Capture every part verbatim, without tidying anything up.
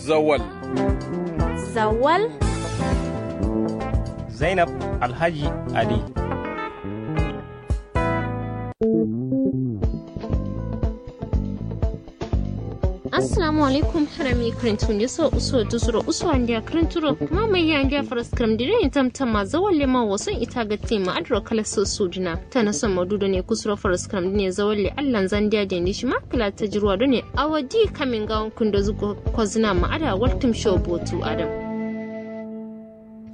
Zawal. Zawal. Zainab Alhaji Ali. Assalamu alaikum. Harami kǝrintu nde so uso dusuro uso andiya kǝrinturo kǝma maiya andiya faraskǝram dǝ dai tamtamma zawalle ma wason ita gatti ma adǝro kala so sudǝna. Tana son maudu done kusuro faraskǝram dǝne zawalle allan zandiya dende shima kǝla tajirwa done awo di kamin gawon kǝndo zǝ kozǝna ma ada waltǝm sho botu adam.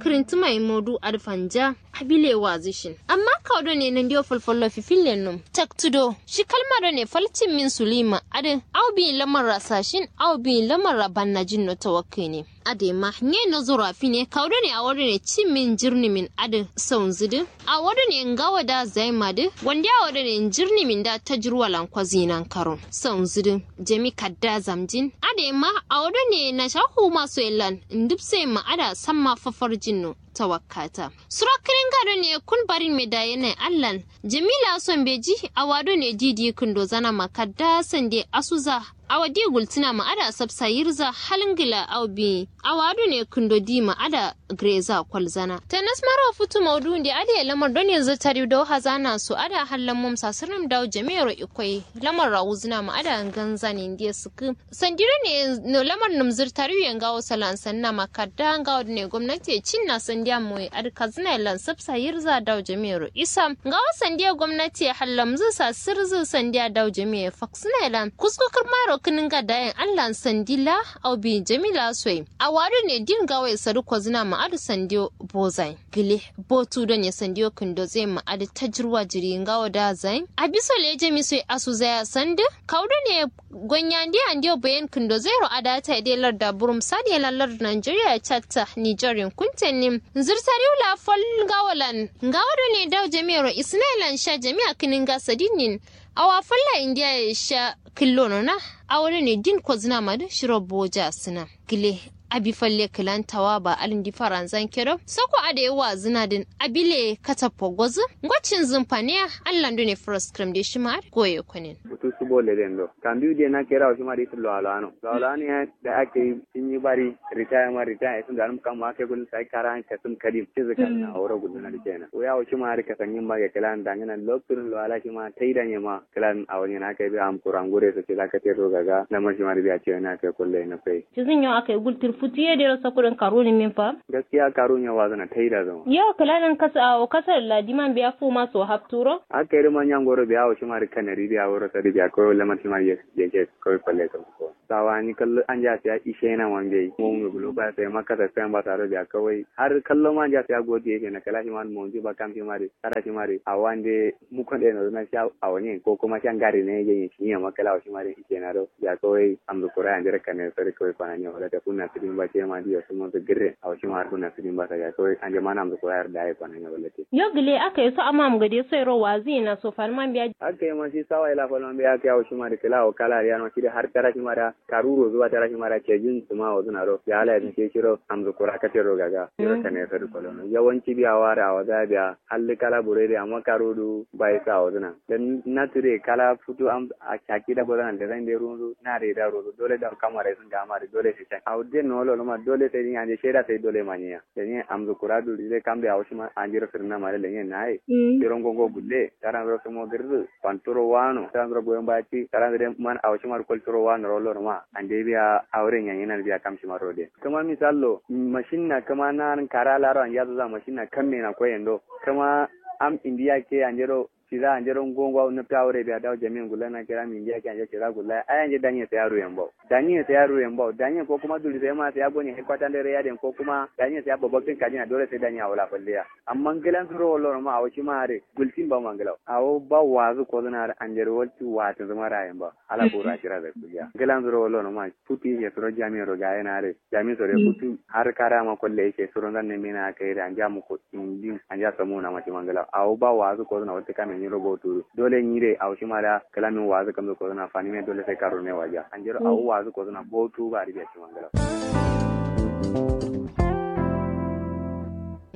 Kǝrintǝma ye maudu adǝ fanja. Abile wazǝ shin amma kawu done nandiyo falfallo fifillen num taktǝ do shi kalma done fal cimmin sulima adǝ. Awo biyin lamarra sashin awo biyin lamarra bannajin no tawakkǝne. Adǝ ma nye nozoro afine kawu done awo done cimmin njirnimin adǝ saunzǝ dǝ. Awo done ngawo da zaima dǝ wande awo done njirnimin da tajirwalan kozǝ yinan karon saunzǝ dǝ. Jami kadda zamjin adǝ ma awo done nasha huma soyelan ndǝbsoyin ma ada samma fafarjin no. Tawakkata suro kǝninga done kun barin me daye nai allan. Jamila son beji awa done di di kǝndo zana ma kadda sande asuza. Awa di gultǝna ma ada sabsa yirza halngǝla awo biyi awa done kǝndo di ma ada gǝreza kolzana. Tanas maro futu maudu nde adǝ ye lamar done zǝ tariu dau hazana so ada hallan mum sasǝrnǝm dau jami'ero ikoi. Lamar rawuzǝna ma ada nganzani nde sǝkkǝ. Sandi done lamar nǝmzǝr tariu ye ngawo salan sanna ma kadda ngawo done gomnati ye cinna sandiya moye adǝ kazǝna ye lan sabsa yirza dau jami'ero isam ngawo sandiya gomnati ye hallamzǝ sasǝrzǝ sandiya dau jami'e faksǝna ye lan kusko kǝrmaro kǝninga dayen allan sandi la. Au biyin jamila soye awa done din ngawo ye sadu kozǝna ma adǝ sandiyo bozayin gǝle. Botu done sandiyo kǝndo zayin ma adǝ tajirwa jiri ngawo da zayin abiso leje miso ye asu zaya sandǝ. Kawu done gonya ndiya ndiyo bayen kǝndo zairo adata ye de larda burum sadiye lan larda nigeria ye catta nigerin kuntennin. Nzǝrtariwu la fal ngawo lan ngawo done dawu jami'ero isǝnai lan sha jami'a kǝninga sadinnin. Awa falla indiya ye sha kǝllono na. Awo done din kozǝna madǝ shiro boja sǝna. Gǝle abi falle kǝlan tawa ba alindi faranzan kedo soko adai wazǝna dǝn. Abile katappo gozǝ. Ngo cinzǝn faniya allan done faraskǝram de shima adǝ goye konen. Butu subo leden do kambiyu de na kerawo shima de itǝ lowalowano lowalowano ya. Da akai sinyi bari ritaya ma ritaya isǝn danǝm kamma akai gulin sai kara kasǝm kadim cizǝ kasǝna aworo gulina dǝ kenan wai awo shima adǝ kasanyin ba ge kǝlan dangǝna lokturin lowala shima taidanye ma. Kǝlan awo nyena akai biya am kura ngure so cida katerro gaga lamar shima dǝ biya ciyena akai kollo ye nafsai. Cizǝn yo akai gultǝr futu ye dero sokudǝn karu nimin fa. Gaskiya karu nyo wazǝna taida zǝma. Yo kǝlanin kasa awo kasa ladiman biya fuma so hapturo. Akai dǝ ma nyangoro biya awo shima dǝ kanari biya wuro sadi biya kawai lamar shima dǝ yake kawai falle so. Sawa ni kallo anja siya ishe na ma mbeyi mo me gulo ba sai ma kasa sai ba saro biya kawai har kallo ma anja siya godi yake na kala shima dǝ monji ba kam shima dǝ kara shima dǝ awo ande mukon ɗe no na sha awo nyen ko kuma sha ngari ne ye nyen shi ne ma kala awo shima dǝ ishe na do. Biya kawai amzǝ kura ye andero kane sori kawai kwana nyen wala ta kunna sǝdin ba ce ma diyo sumo sǝ gǝrre awo shima har kunna sǝdin ba sa biya kawai ande ma na amzǝ kura ye da ye kwana nyen wala te. Yo gǝle aka ye so amma am gade so yero wazi na so fal man biya. Aka ye ma shi sawa ila fal man biya aka ye awo shima dǝ kala awo kala riya no shi dǝ har tara shima da karu rozu ba tara shima da cejin suma wazǝna do biya ala ye dǝ she shiro amzǝ kura kate ro gaga. Yero kane sori kolono yawanci biya wara awo za biya. Halli kala buredi amma karudu bai sa wazuna dan na tire kala futu am a caki da gozana da zan de runzu na re da runzu dole da kamare sun ga amare dole sai can awu den no lo ma dole sai din ande sheda sai dole manya. Dani amzu kuradu de kam da awu shima anjiro sirna mare lenye naye. Tiron gongo gulle taran ro sumo girzu panturo wano taran ro goyon bati taran de man awu shima kol turo wano ro lo ma ande biya awre nyanyi nan biya kam shima ro de. Kǝma misallo mashinna kǝma narin kara laro anjaso za mashinna kamme na koyen do. Kǝma am indiya ke anjero fiza anjero ngo ngo nǝfta wure biya dawo jami'in gullana kira am indiya ke anjero fiza gullaya ai anje danye sai aru yambawo. Danye sai aru yambawo danye ko kuma duri sai ma sai agonye headquarter ndere yaden ko kuma danye sai ababaktin kajina dole sai danye awo la falleya. Amma nglan suro wallo no ma awo shima are gultin ba ma nglawo awo ba wazu kozuna are anjero walti watin zuma ra yambawo. Ala bura shira da kuliya nglan suro wallo no ma. Futu ye suro jami'in ro gaye na are. Jami'in soro ye futu har kara ma kolle ye she suro nzan ne mena aka yere anja muko indin anja samu na ma shima ngla awo ba wazu ko na wata kame nyiro botu. Dole nyire awo shima da kala min wazu kamzo ko na fani me dole sai karo ne waja anjero awo wazu ko na botu ba ribiya shima ngla.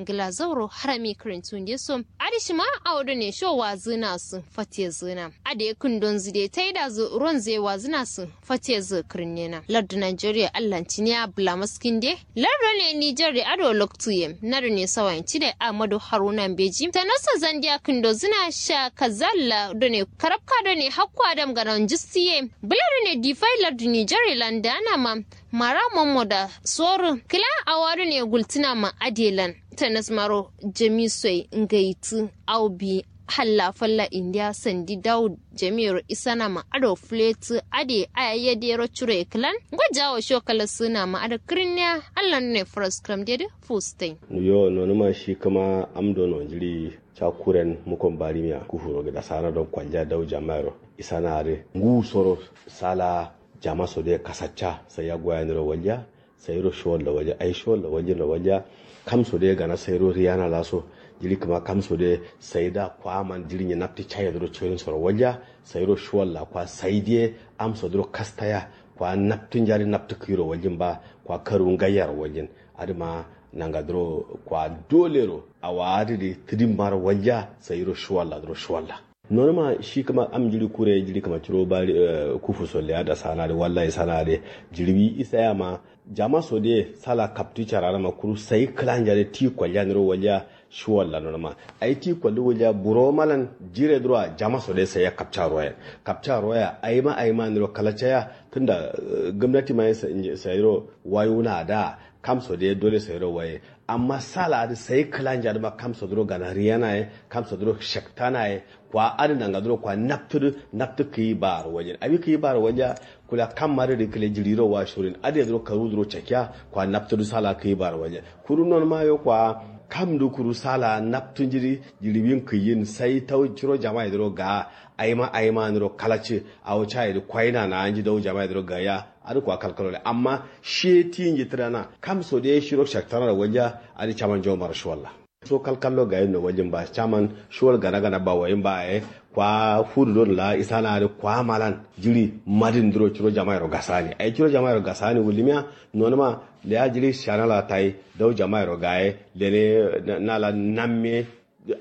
Glazauro harami kǝrintu nde so. Adǝ shima awo done sho wazǝna sǝ fatezǝna. Adǝ ye kǝndonzǝ de taidazǝ ronzǝ ye wazǝna sǝ fatezǝ kǝrinnena. Lardǝ nigeria allan tiniya bǝla maskinde. Lardǝ done niger de ado loktu ye. Na done sawayin cide ahmadu haruna mbeji tanoso zandiya kǝndozǝna sha kazalla done karabka done hakko adam gana njisti ye. Bǝla done difai lardǝ niger ye lan dana ma. Mara mommoda soru kǝla awa done gultǝna ma adǝ ye lan. Tanas maro jami soi ngaitǝ au bi halla falla indiya sandi dawu jami'ero isana ma ado fuletǝ adǝ ye aya yadero curo ye kǝlan. Ngo jawo sho kala sǝna ma adǝ kǝrinniya. Allan done furaskǝram dedǝ fustain. Yo nonuma shi kǝma am dono njiri ca kuren mukon barimiya kufuro gǝda sana don kwalja dawu jama'ero isana adǝ ngu soro sala jama so dǝ ye kasacca sai ya goya niro walja. Sairo showalla walja ai showalla waljin ro walja. Kam so dǝ gana sairo riyana laso jiri kǝma kam so dǝ sai da kwa man jiri nyi naptǝ caye dǝ ro coyin so ro walja. Sairo showalla kwa sai dǝ ye am so dǝ ro kastaya kwa naptǝ njari naptǝ kǝyi ro waljin ba kwa karu ngayya ro waljin. Adǝ ma nanga dǝ ro kwa dole ro awa adǝ dǝ tǝdin ma ro walja sairo showalla dǝ ro showalla. Nonuma shi kǝma am jiri kure jiri kǝma curo bari kufu so leya da sana dǝ wallahi sana dǝ jiri wi isa ya ma jama so dǝ ye sala kaptǝ cara dǝ ma kuru sai kǝlanja dǝ ti kwalja niro walja. Shi walla nonuma ai ti kwalli walja buro malan jire dǝ ro wa jama so dǝ ye sai ya kapca roya. Kapca roya ai ma ai ma niro kalaca ya tunda gomnati ma ye sai ro wayu na da kam so dǝ ye dole sai ro waye. Amma sala adǝ sai kǝlanja dǝ ma kam so dǝ ro gana riyana ye kam so dǝ ro shaktana ye. Kwa adǝ nanga dǝ ro kwa naptǝ dǝ naptǝ kǝyi ba ro walja abi kǝyi ba ro walja. Kula kam ma dǝ dǝ kǝle jiri ro wa shurin adǝ ye dǝ ro karu dǝ ro cakiya kwa naptǝ dǝ sala kǝyi ba ro walja. Kuru nonuma yo kwa kam dǝ kuru sala naptǝ nji dǝ jiri win kǝyin sai tau ciro jama ye dǝ ro ga ai ma ai ma nǝ ro kalaci. Awo ca ye dǝ kwai na na nji dau jama ye dǝ ro ga ya. Adǝ kwa kalkalo le amma shi ye ti nji tǝ dana kam so dǝ ye shiro shaktana ro walja. Adǝ caman jawo maro shi walla. So kalkallo gayin no waljin ba caman shuwal gana gana ba wayin ba ye. Kwa fudu don la isana adǝ kwa malan jiri madin duro ciro jamairo gasani ai ciro jamairo gasani wulimiya. Nonuma leya jiri shana la tayi dau jamairo gaye lene nala namme.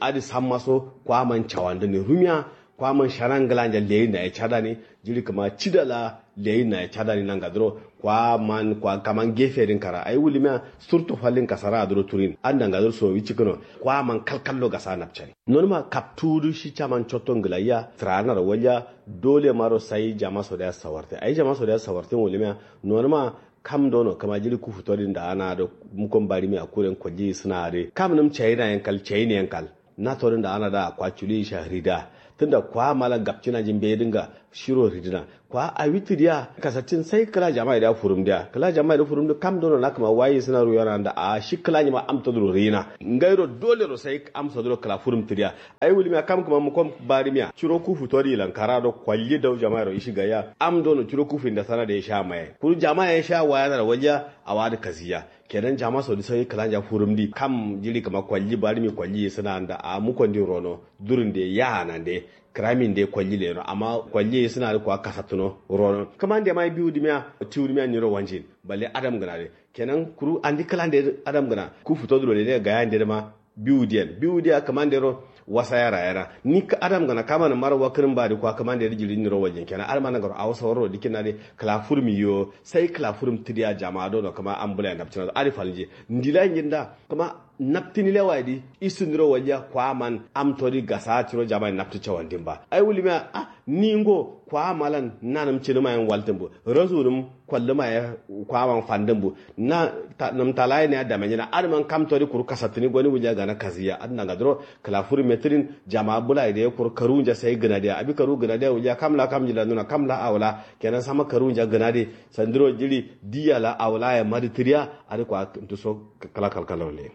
Adǝ samma so kwa man cawandǝ ne rumiya. Kwa man shana ngǝlanja leyi naye cadani jiri kǝma cida la leyi naye cadani nanga duro. Kwa man kwa kaman gefe din kara ai wulimiya surtu fallin kasara aduro turin adǝ nanga duro sowi cikǝno. Kwa man kalkallo gasa napcani nonuma kaptu dǝ shi caman cotto ngǝlayya. Tǝranaro walja dole maro sai jama sodiya sawartin ai jama sodiya sawartin wulimiya. Nonuma kam dono kǝma jiri kufu todin da ana dǝ mukon barimiya kuren kolji sǝna adǝ kam nǝm cayi nayen kal cayi nayen kal. Na todǝn da ana da kwa culi sha rida tunda kwa mala gapcina nji mbeyi dǝnga shiro ridǝna. Kwa awi tǝdiya kasattin sai kǝla jama'a dǝ furum diya kǝla jama'a dǝ furum dǝ kam dono na kǝma wayi sǝna ruyo na nda a shi kǝla njima am todǝ ro riyina. Ngairo dole ro sai am sodǝ ro kǝla furum tǝdiya. Ai wulimiya kam kǝma mukom barimiya curo kufu todi lankara do kwalli dau jama'a ro ishi gayya am dono curo kufu inda sana da ya sha maye kuru jama'a ya sha waya na da walja. Awa dǝ kaziya kenan jama sodi sai kǝlanja furum di kam jiri kǝma kwalji barmi kwalji sǝna nda a mukon di rono. Durin de ya nan de kǝramin de kwalji leno amma kwalji sǝna dǝ kwa kasattuno rono kǝman de ma biwu dimiya. Tiwu dimiya niro wanjin balle adam gǝna de kenan kuru andi kǝlan de adam gǝna ku futo duro de gayan de ma. Biwu diyan biwu diya kǝman de ro wasa yara yara ni adam gǝna kaman maro wakǝrin ba dǝ kwa kǝman de dǝ jiri niro wanjin kenan adǝ ma nangaro awo sawar ro dikina de kǝla furmi yo. Sai kǝla furum tǝdiya jama dono kǝma ambulai napcina adǝ falnji ndila njin da kǝma naptǝni lewa ye dǝ isǝ niro walja kwa man am todi gasa ciro jama ye naptǝ cawandin ba ai wulimiya. Ah ni ngo kwa malan nanǝm cǝnǝma yen waltǝn bǝ rasu nǝm kwallǝma ye kwa man fandǝn bǝ na nǝm talaye ne ya damenjina adǝ man kam todi kuru kasattǝni goni wulja gana kaziya adǝ nanga duro. Kǝla furum ye tǝdin jama bula ye dǝ ye kuru karu nja sai gǝna diya abi karu gǝna diya wulja kam la kam nji la nuna kam la awo la kenan sama karu nja gǝna de. Sandiro jiri diya la awo la ye madǝ tǝdiya adǝ kwa nduso kǝla kalkalo le.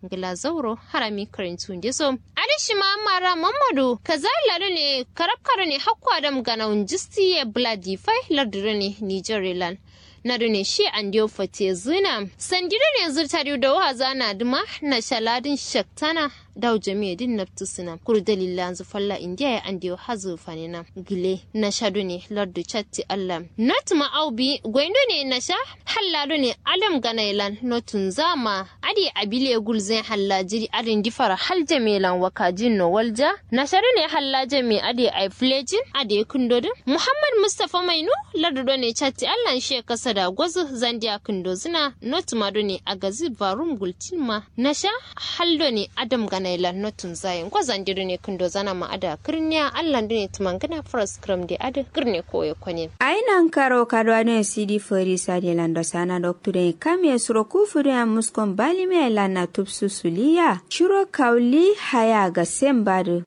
Ngla zauro harami kǝrintu ndeso. Adǝ shima mara mammadu kaza lado ne karabka do ne hakko adam gana wunjisti ye bǝla difai lardu do ne niger ye lan. Na done shi andewo fate zǝna sandi done zǝrta diyo dawo hazana dǝma. Na sha ladǝn shaktana dawo jamiye dǝn nabtǝ sǝna kuru dalil lanzǝ falla indiya ye andewo hazǝ fanena. Gǝle na sha done lardu catti allah notǝma au bi goyin done na sha halla done adam gana ye lan notǝnza ma. Adǝ ye abile gulzǝ ye halla jiri adǝ ndifara hal jamiye lan wakajin no walja. Na sha done halla jamiye adǝ ye ai fǝlejin adǝ ye kǝndo dǝn muhammad mustafa mainu lardu done catti allah nshe kasada gozǝ zandiya kǝndo zǝna notǝma done agazǝ barum gultin ma. Na sha hal done adam gana ye lan notǝnza ye ngo zande done kǝndo zana ma adǝ ye kǝrniya allah done tǝmangǝna faras kǝram de adǝ kǝrne koye konen. Ai nankaro kaduwa done sidi fori sade lan do sana doktu done kam ye suro kufu done amuskon balimiya ye lan na tubsu suliya shiro kauli haya gasen badǝ.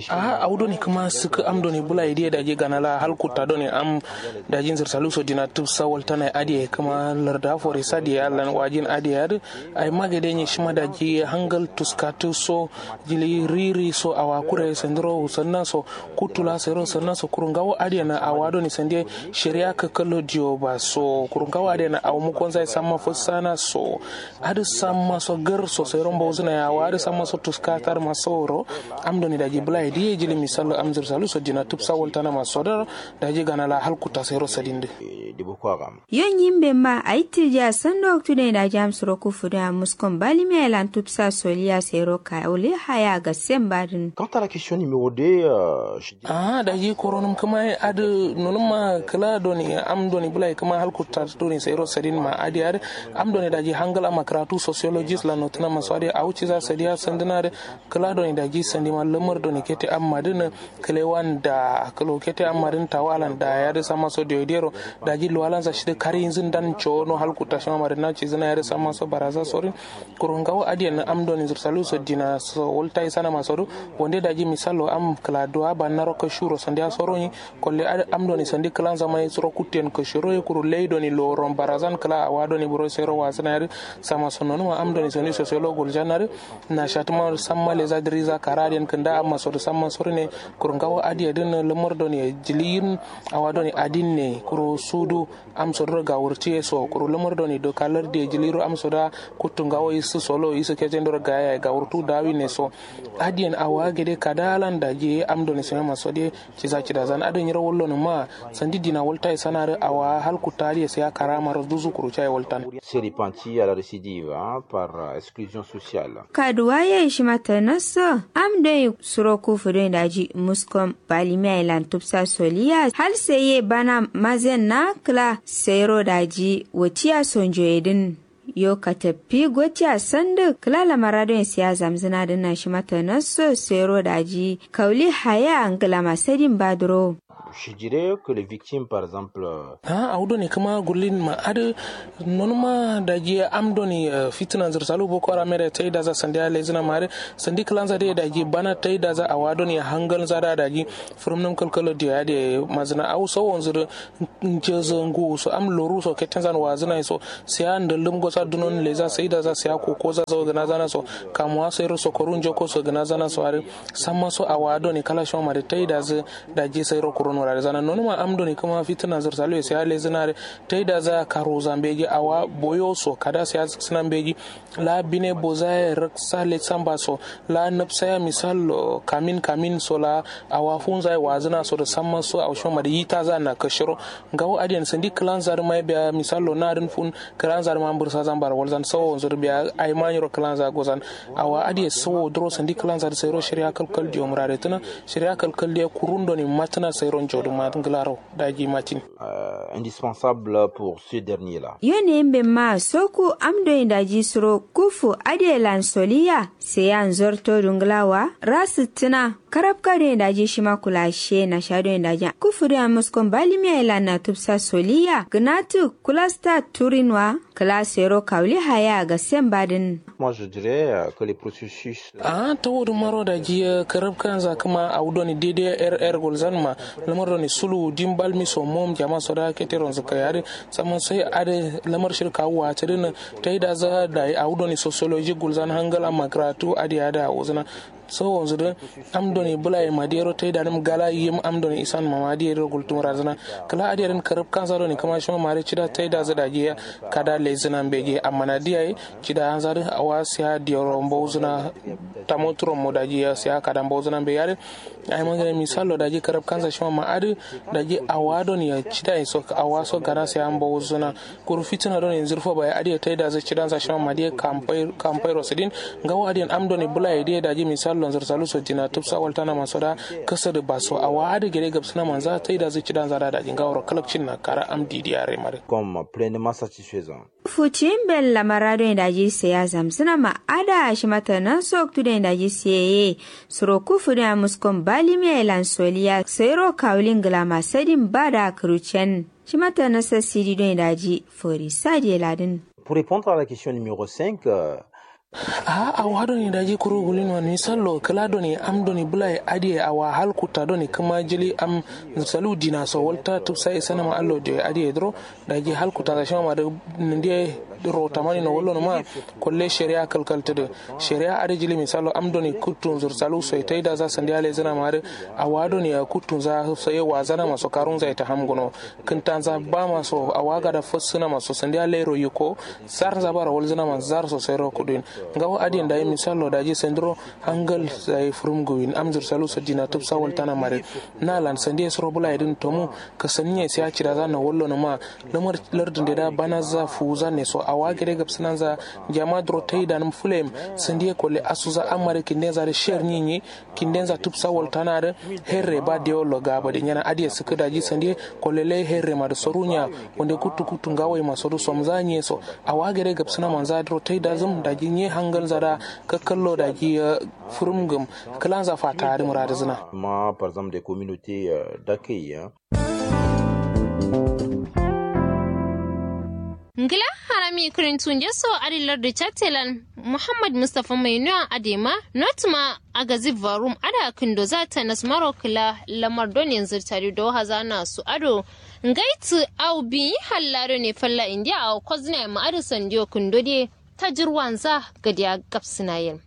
Aha awu done kǝma sǝkǝ am done bula ye diye daji gana la hal kutta done am daji nzǝrsalu so dina tubsa waltana ye adǝ ye kǝma larda fori sade ye allan wajin adǝ ye adǝ. Ai magade nye shima daji hangal tuskatǝ so jili riri so awa kure sandiro wusanna so kuttu la sairo sanna so kuru ngawo adǝ ye na awa done sande shari'a kakkallo diyo ba so kuru ngawo adǝ ye na awu mukonza ye samma fassana so. Adǝ samma so gar so sairo mbawzǝna ye awa adǝ samma so tuskatar ma sauro. Am done daji bula ye diye jili misallo am nzǝrsalu so dina tubsa waltana ma sodar daji gana la hal kutta sairo sadin dǝ. Yo nyimbe ma ayi tǝjiya sando waktu dǝn ye daji am suro kufu dǝn ye amuskon balimiya ye lan tubsa soliya sairo kawuli haya gasen badǝn. Kanta la question numéro deux. Aha daji koronum kǝma ye adǝ nonum ma kǝla done am done bula ye kǝma hal kutta done sairo sadin ma adǝ ye adǝ am done daji hangal amma kǝratu sociologist lan notǝna ma so adǝ ye awu ciza sadiya sandǝna adǝ. Kǝla done daji sandima lamar done kete amma dǝn kǝlewan da kǝlo kete amma dǝn tawalan da ye adǝ samma so diyo diyero. Daji luwalanza shidǝ kariyinzǝ ndan cowono hal kutta shima madǝ na cizǝna ye adǝ samma so baraza sorin. Kuru ngawo adǝ ye na am done nzǝrsalu so dina so walta isana ma so dǝ wande daji misallo am kǝla duwa bannaro kashuro sandiya soro nyi. Kolle adǝ am done sandi kǝlanza ma ye suro kuttu yen kashuro ye kuru lei done loworon barazan kǝla awa done buro sairo wazǝna ye adǝ. Samma so nonuma am done sandi sosolo gulzan adǝ. Na shatǝma samma leza dǝriza kara adǝ yen kǝnda amma so dǝ samma soro ne. Kuru ngawo adǝ ye dǝn lamar done jiliyin awa done adin ne kuru sudu. Am sodoro gawurtiye so kuru lamar done doka lardiye jiliro am soda. Kuttu ngawo isǝ solo isǝ kejendoro gaya ye gawurtu dawine so. Adiyen awa gade kada lan daji am done sime ma sode. Ciza cidazan adǝ nyiro wallo nǝma. Sandi dina walta ye sanarǝ awa hal kutta adiye siya karamaro duzu kuru caye waltan. Se repentir à la récidive, hein, par euh, exclusion sociale. Kaduwa ye shima tanasso. Am doi suro kufu doi daji muskom balimiya ye lan tubsa soliya hal seye bana mazen na kǝla sero daji watiya sonjo ye dǝn. Yo kataffi gotiya sandǝ kǝla lamara doi siya zamzǝna dǝn na shima tanasso sero daji kauli haya ngǝlama sadin baduro. Je dirais que les victimes par exemple. Awo done kǝma gullin ma adǝ nonuma daji am done fitǝna nzǝrsalu boko haram ye dai tai daza sandiya lezǝna ma adǝ sandi kǝlanza dai daji bana tai daza awa done hangalnza da daji fǝrǝmnǝm kalkalo diya adǝ ye mazǝna awo sawonzǝ dǝ. Njezǝ nguwu so am loru so kettenzan wazǝna ye so siya ndallum gosa dunon leza sai daza siya kokoza so gǝnazana so kamuwa sairo so koru njoko so gǝnazana so adǝ samma so awa done kala shima ma dǝ tai dazǝ. Daji sairo kurun wurare zana nonuma am done kǝma fitǝna zǝrsalu ye siya lezǝna dǝ. Tai daza karu zambeji awa boyo so kada siya zǝksǝna mbeji. La bine boza ye rǝksa letsamba so la nabsa ya misal kamin kamin so la awa funza ye wazǝna so dǝ samma so awo shima ma dǝ yitaza na kashiro. Ngawo adiyen sandi kǝlanza dǝ mai biya misallo na dǝn fun kǝlanza dǝ ma mbǝrsa zambaro walzan sawonzǝ dǝ biya aima nyiro kǝlanza gozan. Awa adiye sawo duro sandi kǝlanza dǝ sairo shariya kalkal diyo muraretǝna. Shariya kalkal diye kurun done matǝna sairo njo dǝ ma ngǝlaro daji matin. Indispensable pour ce dernier là. Yo ne mbe ma soku am doi daji suro kufu adiye lan soliya. Seya nzorto dunglawa rasǝttǝna. Karabka doi daji shima kula she nasha doi daji kufu doi amuskon balimiya ye lan na tubsa soliya gǝnatǝ kulasta turinwa. Kǝla sero kawuli haya gassen badǝn. Moi je dirais que les processus. Aha tawo dǝ maro daji karabkanza kǝma awo done daidai rr gulzan ma lamar done suluwu dimbalmi so mom jama so da keteronzǝ kai adǝ. Samma sai adǝ lamar shirka wuwa tǝdǝnǝ. Tai daza dai awo done sociologie gulzan hangal amma kǝratu adǝ ye adǝ awozǝna. So wonzǝ dǝ am done bǝlaye ma diyero taidanǝm gala yim am done isan ma ma diyero gultum razǝna. Kǝla adiyadǝn karǝb kanza done kǝma shima mare cida taidazǝ daji ya kada lezǝna mbeji amma na diyaye cida anza dǝ awa siya diyero mbozǝna. Tamo turon mo daji ya siya kada mbozǝna mbeji adǝ. Ai mangare misallo daji karab kanza shima ma adǝ. Daji awa don ya cida iso awa so gana sai an bawo zuna. Kuru fitina don yanzu rufa bai adiya tai da zai cidan za shima ma diye kampai kampai rosidin. Ngawo adiyan am don bula ya diye daji misallo zursalu so dina tupsa waltana maso da. Kasa da baso awa adǝ gare gabsuna manza tai da zai cidan za da daji ngawo ro kalakcin na kara am didiya remare. Comme pleinement satisfaisant. Fuciyin bella mara doi daji seya zamzǝna ma ada shima tanan soktu doi daji seye. Suro kufu doi amuskon balimiya ye lan soliya soyiro kawulin gǝlama sadin bada kǝrucen. Shima tanan sasidi doi daji fori sadiye ladin. Pour répondre à la question numéro cinq. Aha awo hadoni daji kuru gulin wani sallo kǝla doni am doni bǝlaye adiye awa hal kutta doni kǝma jili am. Salu dina so walta tupsa ye sanama allo diyo ye adiye duro. Daji hal kutta za shima ma dǝ. Nǝndiye ro tamani no wallo nǝma. Kolle shari'a kalkal tǝdǝ. Shari'a adǝ jili misallo am doni kuttu nzur salu soye taida za sandiya lezǝna ma dǝ. Awa doni ya kuttu nza soye wazana ma so karun za ye ta ham gǝno. Kǝnta nza ba ma so awa gada fassǝna ma so sandiya lairo yiko. Sar nza bara walzǝna ma zar so sairo kuduyin. Ngawo adiyen dayi misallo daji sandiro. Hangal sai furum guwin amzur salu sadina tupsa waltana mare. Na lan sandiye suro bula idin tomu. Kasaniye sai acira za na wallo na ma. Lamar lardin da da bana za fu za ne so awa gare gabsana za. Jama duro tai da num fulem. Sandiye kole asu za amare kinde za da sher ni ni. Kinde za tupsa waltana da. Herre ba de wallo ga ba de nyana adiye suku daji sandiye. Kole lai herre ma da sorunya. Wande kutu kutu ngawai ma soru somza nye so. Awa gare gabsana manza duro tai da zum daji nye hangal za da. Kakkallo daji. Fǝrǝm gǝm kǝlanza fata adǝ mǝradǝzǝna. Ma par exemple des communautés. Dakaiya. Ngla harami kǝrintu nde so adǝ lardǝ chattelan. Muhammad mustapha mai nuwa adema notuma. Agazi varum ada kǝndo za tanas maro kǝla lamar don yanzǝ tari do hazana su ado. Ngaitǝ au biyi hallado ne falla indiya au kozna ma adǝ sandiyo kǝndo de. Tajirwanza gadiya gabsǝna yen.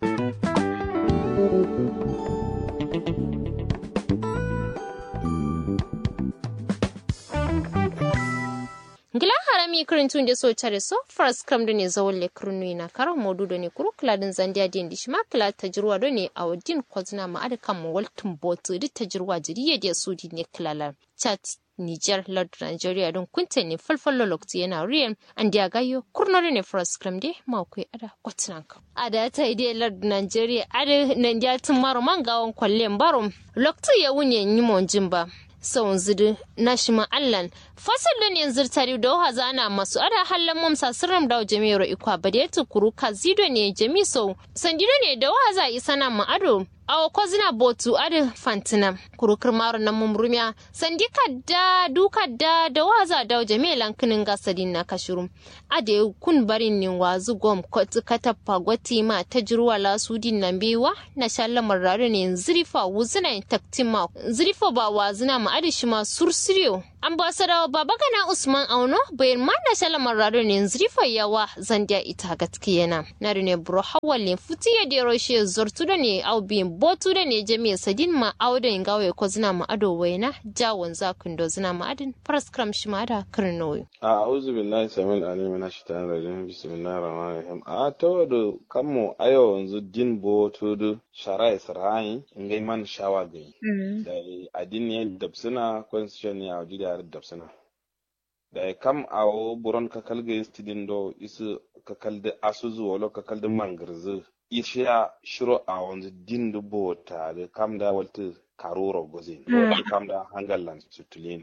Ngla harami kǝrintu nde so care so faraskam done zawalle kǝrinu yina kara modu done kuru kǝladǝn zandiya diyen dishima kǝla tajirwa done awo din kozǝna ma adǝ kammo waltǝn botǝ dǝ tajirwa jiri ye diye sudi ne kǝlalan. Chat niger lardu nigeria don kunte ne falfallo loktu yena ruyen. Andiya gayyo kurno done faraskam de makoi ada. Kotǝnanka ada tayi de lardu nigeria adǝ nandiya tǝmmaro mangawon kollen baro. Loktu yawun ye nyimonjin ba. Saunzǝ dǝ nashima allan. Fasallo ne nzǝrtari dawo hazana masu ada hallan mom sasǝrram dawo jami'ero ikwa badetǝ kuru kazi done jami sau sandi done dawo haza isana ma ado. Awo kozǝna botu adǝ fantǝna. Kuru kǝrmaro namum rumiya sandi kadda du kadda dawo haza dawo jami'e lankǝnǝnga sadinna kashirum. Adai kun barin nin wazǝ gom kotǝ katappa gottǝ yima tajirwa la sudin na mbeyi wa. Nasha lamar rado ne nzǝrifa wuzǝna yin taktin ma nzǝrifa ba wazǝna ma adǝ shima sursuriyo. Ambasadawa baba gana usman auno bayin ma nasha lamar rado ne nzǝrifa yawa. Zandiya ita gatkǝ yena nado ne buro hawal yin futu ye dero shiye zortu do ne au biyin botu do ne jamiye sadin ma au do yin gawo ye kozǝna ma ado wayena. Jawon za kǝndo zǝna ma adǝn faraskram shima ada kǝrnowi. A'uzubillahi samin alim mina shaitanir rajim bismillahir rahmanir rahim a tawodu. Kammo ayo wanzu din botu du shara isra'ain ngai man shawa gai. Dai adin ne dabsuna constitution ne a wajiri har dabsuna. Dai kam awo buron kakal gai sidin do isu kakal du asuzu walo kakal du mangirzu. Ishiya shiro a wanzu din du bota du kam da waltu karuro gozin kam da hangallan sutulin.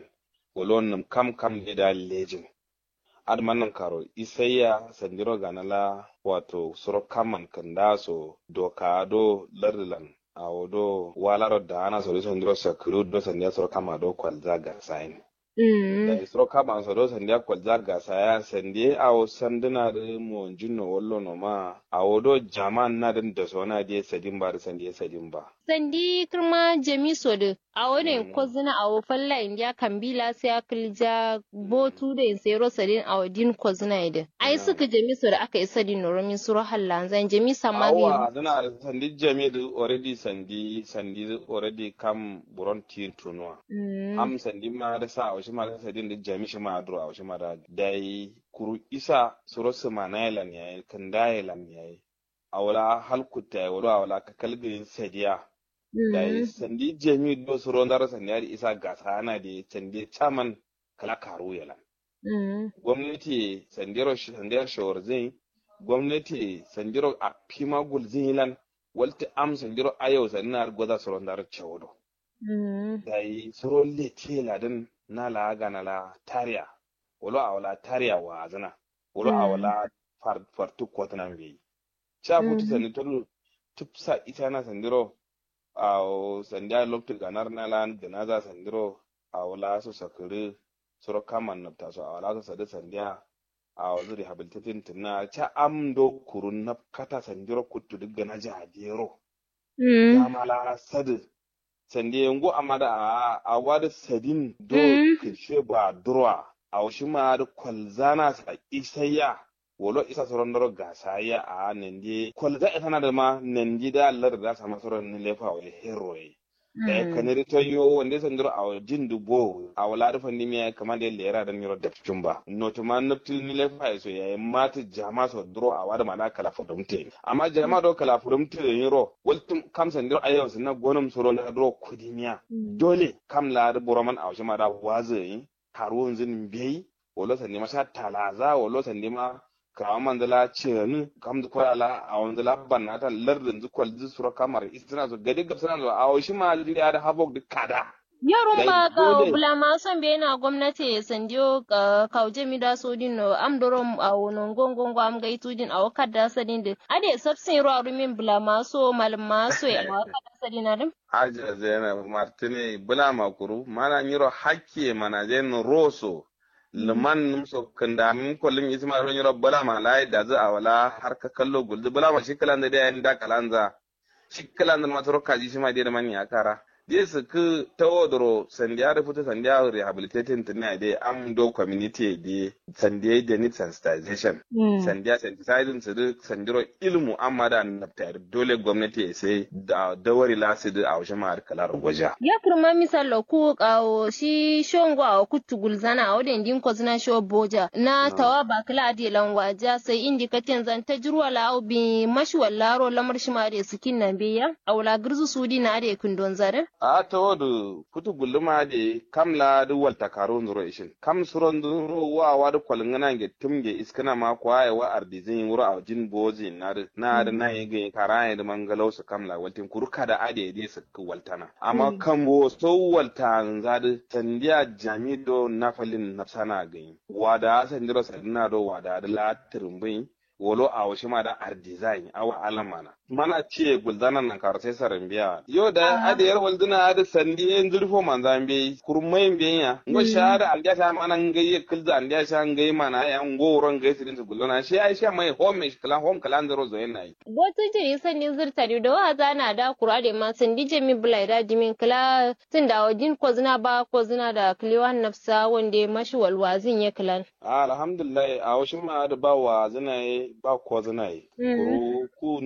Walo nǝm kam kam ne da lejin. Adǝ ma nǝm karo isaiya sandiro gana la wato suro kamman kǝnda so doka do lardulan. Awo do walaro daana so do sandiro sakǝru do sandiya suro kamma do kwalza gasayin. Dayi suro kamma so do sandiya kwalza gasaya sandiye awo sanduna dǝ monjin no wallo no ma. Awo do jaman na dǝn daso na diye sadin ba dǝ sandiye sadin ba. Sandi kǝrma jami so dǝ. Awo ne kozǝna awo falla indiya kambila sai akǝlja botu dǝ yin sairo sadin awo din kozǝna ye dǝ. Ai sǝkǝ jami so dǝ aka isa dǝ noromin suro hallanzain jami samma gǝ. Awa dǝna dǝ sandi jami dǝ already sandi sandi dǝ already kam buron tiyin tunuwa. Am sandi ma dǝ sa awo shima dǝ sadin dǝ jami shima duro awo shima dǝ. Dai kuru isa suro sǝmanaye lan yayi kǝndaye lan yayi. Awo la hal kuttaye wado awo la kakal gǝyin sadiya. Dai sandi jami do suro ndaro sandi adǝ isa gasa ana dǝ sandi caman kǝla karu ye lan. Gomnati ye sandiro sandiro shawarzǝn ye. Gomnati ye sandiro affima gulzǝn ye lan. Waltǝ am sandiro ayau sandina adǝ goza suro ndaro cawodo. Dai suro letiye ladǝn na la gana la tariya. Walo awo la tariya wa'azǝna. Walo awo la fartǝ kotǝna mbeyi. Ca futu sandi tolu tǝfsa itana sandiro. Awo sandiya loktu ganar na lan gǝnaza sandiro. Awo la so sakǝrǝ suro kaman nabta so awo la so sadǝ sandiya. Awo zǝ rehabilitating tǝnna ca am do kuru nabkata sandiro kuttu dǝ gǝnaja adiyero. Dama la sadǝ. Sandiye ngo amma da a'a awa da sadin do kirshe ba durwa. Awo shima da kwalzana sa isayya. Wolo isa soron doro gasayya a'a nandi kwalza isana da ma nandi da lar da sama soron ni lefa wa herro ye. Dayi kanadi toyo wande sandiro awo jin du bo awo la da fandi miya kamande lera da nyiro dapcin ba noto ma nabtil ni lefa ye so yayi matu jama so duro awa da ma da kala fodum te. Amma jama do kala fodum te nyiro waltum kam sandiro ayo sinna gonum suro la duro kudimiya. Dole kam la da buroman awo shima da wazi yi. Karuwun zin mbeyi wolo sandi ma sha talaza wolo sandi ma kirawa manzala ciyani kamdu kwalala awonzala bannata lardinzu kwalzu suro kamar istina so gade gabsana so awo shima diri ada habok duk kada. Yo rumba kawo bulama so mbeyi na gomnati ye sandiyo kawo jami da sodin no am doro awo no ngo ngo ngo am gai tudin awo kadda sadin din ade sabsin ro arumin bulama so malama so ye awo kadda sadin adin. Aja zainab martine bulama kuru mana nyiro hakki ye mana zain roso. Luman nǝmso kǝnda nǝm kollum isma ro nyiro bǝlama layi dazǝ awala har kakallo gulzǝ bǝlama shi kǝlanzǝ dai yayi nda kǝlanza. Shi kǝlanzǝ nǝma suro kaji shima dai dǝman ya kara. Dai sǝkkǝ tawo duro sandiya dǝ futu sandiya rehabilitating tǝnna dai am do community dai sandiya dai need sensitization. Sandiya sensitizing sǝdǝ sandiro ilmu amma da nabtayir dole gomnati ye sai dawari la sǝdǝ awo shima adǝ kǝlaro goja. Ya kǝrma misallo ku awo shi shongo awo kuttu gulzana awo dai ndin kozǝna sho boja na tawa ba kǝla adǝ ye lan waja sai indi katen zan tajirwa la awo bi mashi wallaro lamar shima adǝ ye sǝkin na mbeya. Awo la gǝrzu sudina adǝ ye kǝndonza dǝ. A'a tawo dǝ futu gulluma adǝ ye kam la adǝ walta karunzuro ishin kam suronzuro wa awa dǝ kolngǝna nge tǝm nge iskǝna ma kwaye wa ardizǝn wuro awo jin bozǝ yin na dǝ na adǝ na ye gǝnyi kara ye dǝ mangalau sǝ kam la waltin kuru kada adǝ ye dǝ ye sǝkkǝ waltana. Amma kambo so waltanza dǝ sandiya jami do nafalin nafsana gǝnyi wada sandiro sadina do wada dǝ la tǝrǝmbǝnyi. Wolo awo shima da ardizayin awo alamana mana ciye gulzana nankaro sai sarambiya yo da adǝ yar walzǝna adǝ sandi ye nzǝrfo manza mbeyi kurmai mbeyi ya ngo sha adǝ andiya sha mana ngai ye kǝlzǝ andiya sha ngai mana ya ngo wuro ngai sǝdin sǝ gulzana shi ai sha mai home shi kǝla home kǝla nzǝro zoyen nayi. Botu jiri sandi zǝrta diu dawa zana da kura de ma sandi jami bǝlai da dimin kǝla tǝnda awo din kozǝna ba kozǝna da kǝlewan nafsa wande mashi walwazǝn ye kǝlan. Alhamdulillahi awo shima adǝ ba wazǝna ye ba kozǝna ye kuru ku